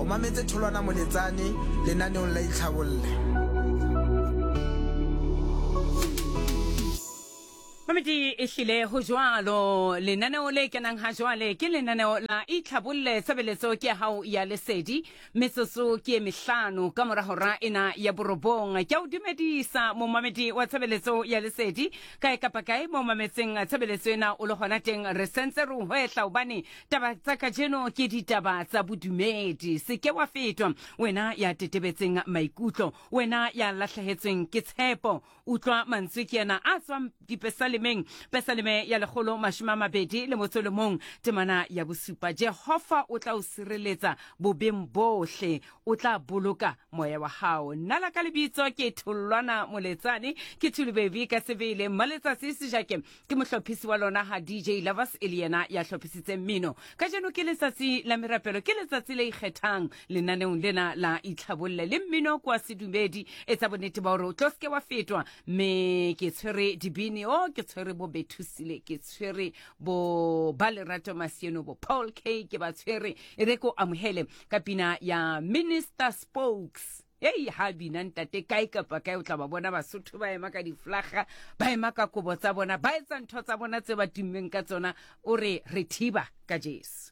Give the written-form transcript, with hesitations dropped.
O mametse Tholwana Moletsane lenaneong la Itlhabolle. Mamedi e hlile ho jwalo lenaneo le kenang ha jwale ke lenaneo la itlhabolle tshebeletso ke ya hao ya lesedi metsotso ke e mehlano ka mora hora ena ya borobong ke a o dumedisa momamedi wa tshebeletso ya lesedi kae kapa kae mo mametseng tshebeletso ena o le gona teng re sentse re o hwehla hobane taba tsa kajeno ke ditaba tsa bodumedi se ke wa fetwa wena ya tetebetseng maikutlo wena ya lahlehetsweng ke tshepo Utlwa mantswe ke ena a tswang dipesalemeng, pesaleme ya 121 temana ya bosupa. Jehova o tla o sireletsa bobeng bohle, o tla boloka moya wa hao. Nna la ka lebitso ke Tholwana Moletsane, ke Thulu Baby ka sebele. Mmaletsatsi Sejake ke mohlophisi wa lona ha DJ Lovers e le yena ya hlophisitseng mmino. Kajeno ke letsatsi la merapelo, ke letsatsi le ikgethang lenaneong lena la itlhabolle le mmino kwa sedumedi. Etsa bonnete ba hore o tlo seke wa fetwa, mme ke tshwere dibini, o ke tshwere bo Bethusile, ke tshwere bo ba Lerato Masieno, bo Paul K, ke ba tshwere. E re ko amohele ka pina ya Minister Spokes. Ei, ha bina ntate kae kapa kae o tla ba bona Basotho ba ema ka diflaga, ba ema ka kobo tsa bona, ba etsa ntho tsa bona tse ba tummeng ka tsona. O re re thiba ka Jesu.